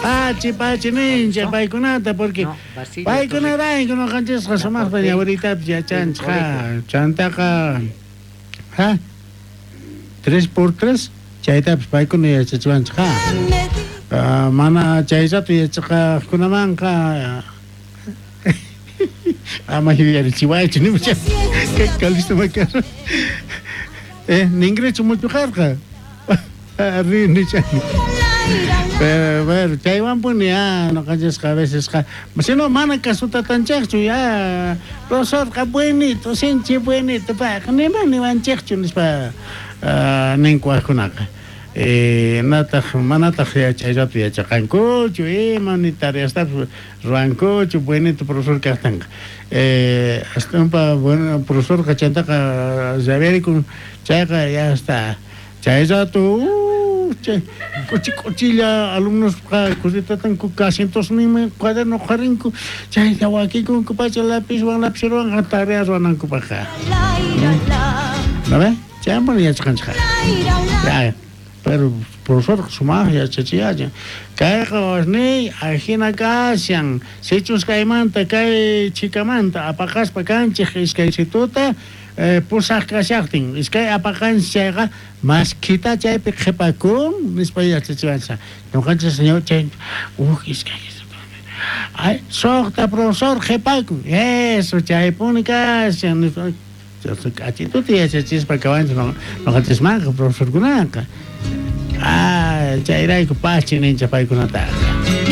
Pachi pachi ninchej paykunata porque No, Basilio paykunarayku noqanchisqa La sumaqta portería ñawiritapis yachanchej. del Ha, chantaqa ha 3 por 3 chaytapis paykuna yachachiwanchej ha. Ah, mana chay rato yachaqaqkunamanqa ama yuyarichiwaychu nimucha kay Calixto Macarra ningrichu muchuqarqa ri nichani pero bueno chaywanpuni ya noqanchisqa a vecesqa sino mana kasutatanchejchu ya profesorqa buenito sinchi buenito payqa nima niwanchejchu nispa ninku wajkunaqa nataq manataq chay rato yachaqankuchu ima ni tareastapis ruwankuchu buenito profesor kajtinqa aswanpa bueno profesorqa chantaqa rabiarikun chayqa ya está chay rato chay k'uchi k'uchilla alumnosqa kusitatanku asientosninman cuaderno qharinku chayta wakikunku pacha lapizwan lapicerowanqa tarea ruwanankupajqa ¿no ve? Chaywanpuni yachaqanchej ya pero profesor sumaq yachachiyachin kayqa wawasniy ajina kashan sichus kaymanta kay chhikamanta apaqaspa kanchej iskaysituta pusaj kashajtin iskay apaqanchej chayqa maskhita chaypi qhepakun nispa yachachiwanchej noqanchej señor chay uj iskay ay sojta profesor qhepakun eso chaypuni kashan nispa k'achituta yachachispa kawanchej noqanchismanqa profesorkunaqa chayrayku pachi ninchej paykunataqa.